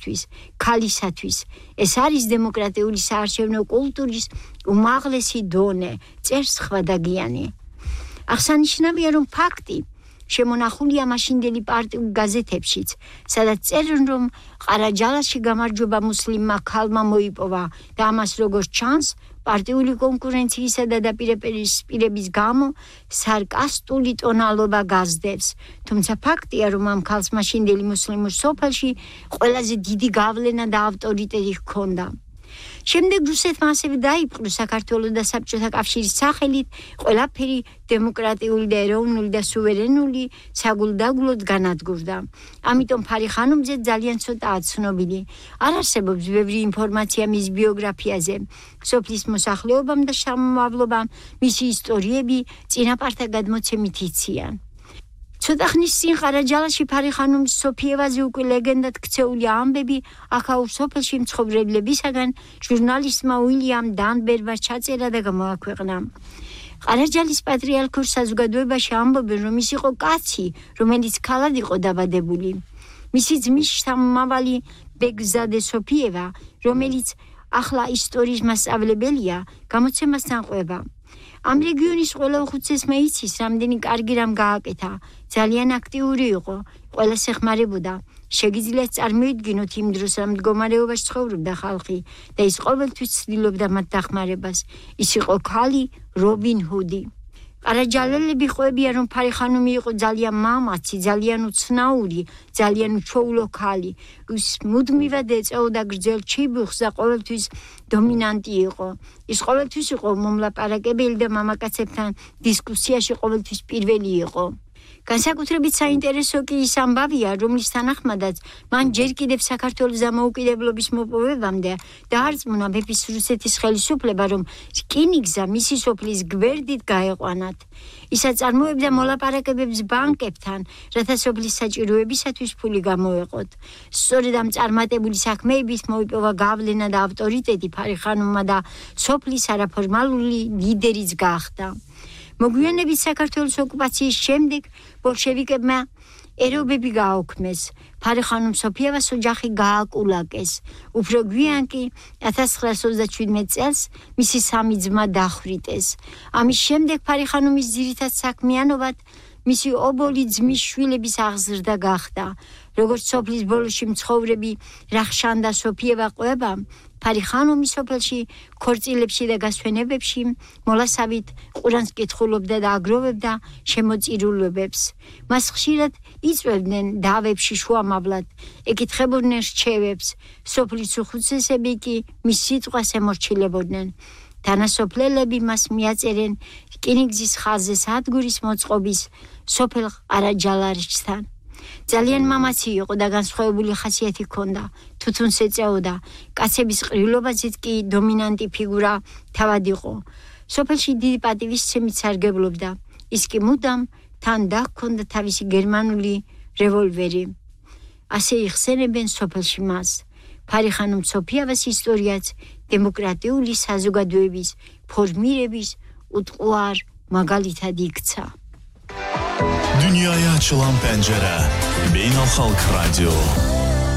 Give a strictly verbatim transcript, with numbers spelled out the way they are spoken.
თვის, ქალისათვის. ეს არის დემოკრატიული საარჩევნო კულტურის უმაღლესი დონე, წერს ხვადაგიანი. აღსანიშნავია, რომ ფაქტი შემონახულია მაშინდელი პარტიულ გაზეთებშიც, სადაც წერენ, რომ ყარაჯალაში გამარჯვება მუსლიმმა ქალმა მოიპოვა და ამას როგორც ჩანს, პარტიული კონკურენციისა და დაპირისპირების გამო სარკასტული ტონალობა გაზდევს. თუმცა ფაქტია, რომ ამ ქალს მაშინდელი მუსლიმურ სოფელში ყველაზე დიდი გავლენა და ავტორიტეტი ჰქონდა. შემდეგ რუსეთმა ასევე დაიპყრო საქართველოს და საბჭოთა კავშირის სახელით ყველაფერი დემოკრატიული და ეროვნული და სუვერენული საგულდაგულოდ განადგურდა. ამიტომ ფარი ხანუმზე ძალიან ცოტაა ცნობილი. არ არსებობს ბევრი ინფორმაცია მის ბიოგრაფიაზე, სოფლის მოსახლეობამ და შთამომავლობამ მისი ისტორიები წინაპართა გადმოცემით იციან. ცოტა ხნის წინ ყარაჯალაში ფარი ხანუმის სოფიევაზე უკვე ლეგენდად ქცეული ამბები აქაურ სოფელში მცხოვრებლებისაგან ჟურნალისტმა უილიამ დანბერმა ჩაწერა და გამოაქვეყნა. ყარაჯალის პატრიარქულ საზოგადოებაში ამბობენ, რომ ის იყო კაცი, რომელიც ქალად იყო დაბადებული. მისი ძმის შთამომავალი ბეგზადე სოფიევა, რომელიც ახლა ისტორიის მასწავლებელია, გამოცემასთან ყვება. ამ რეგიონის ყველა უხუცესმა იცის, რამდენი კარგი რამ გააკეთა. ძალიან აქტიური იყო, ყველას ეხმარებოდა. შეგიძლიათ წარმოიდგინოთ იმ დროს რა მდგომარეობაში ცხოვრობდა ხალხი და ის ყოველთვის ცდილობდა მათ დახმარებას. ის იყო ქალი რობინ ჰუდი. ყარაჯალელები ყვებიან, რომ ფარი ხანუმი იყო ძალიან მამაცი, ძალიან უცნაური, ძალიან უჩვეულო ქალი. ის მუდმივად ეწეოდა გრძელ ჩიბუხს და ყოველთვის დომინანტი იყო. ის ყოველთვის იყო მომლაპარაკებელი და მამაკაცებთან დისკუსიაში ყოველთვის პირველი იყო. განსაკუთრებით საინტერესო კი ის ამბავია, რომლის თანახმადაც მან ჯერ კიდევ საქართველოს დამოუკიდებლობის მოპოვებამდე დაარწმუნა მეფის რუსეთის ხელისუფლება, რომ რკინიგზა მისი სოფლის გვერდით გაეყვანათ. ის აწარმოებდა მოლაპარაკებებს ბანკებთან, რათა სოფლის საჭიროებისათვის ფული გამოეყოთ. სწორედ ამ წარმატებული საქმეებით მოიპოვა გავლენა და ავტორიტეტი ფარი ხანუმმა და სოფლის არაფორმალური ლიდერიც გახდა. მოგვიანებით საქართველოს ოკუპაციის შემდეგ ბოლშევიკებმა ერობები გააუქმეს. ფარი ხანუმ სოფიევას ოჯახი გააკულაკეს. უფრო გვიან კი ათას ცხრაას ოცდაშვიდმეტ წელს მისი სამი ძმა დახვრიტეს. ამის შემდეგ ფარი ხანუმის ძირითად საქმიანობად მისი ობოლი ძმის შვილების აღზრდა გახდა. როგორც სოფლის ბოლოში მცხოვრები რახშან და სოფიევა ყვება, ფარი ხანუმი სოფელში ქორწილებში და გასვენებებში mollasavit ყურანს კითხულობდა და აგროვებდა შემოწირულობებს. მას ხშირად იწვევდნენ დავებში შუამავლად, ეკითხებოდნენ რჩევებს, სოფლის უხუცესები კი მის სიტყვას ემორჩილებოდნენ. თანასოფლელები მას მიაწერენ რკინიგზის ხაზზე სადგურის მოწყობის სოფელ ყარაჯალაშთან. ძალიან მამაცი იყო და განსხვავებული ხასიათი ჰქონდა, თუთუნს ეწეოდა, კაცების ყრილობაზეც კი დომინანტი ფიგურა თავად იყო. სოფელში დიდი პატივისცემით სარგებლობდა, ის კი მუდამ თან დაჰქონდა თავისი გერმანული რევოლვერი. ასე იხსენებენ სოფელში მას. ფარი ხანუმ სოფიევას ისტორიაც დემოკრატიული საზოგადოების ფორმირების უტყუარ მაგალითად იქცა. Dünyaya açılan pencere, Beynel Halk Radyo.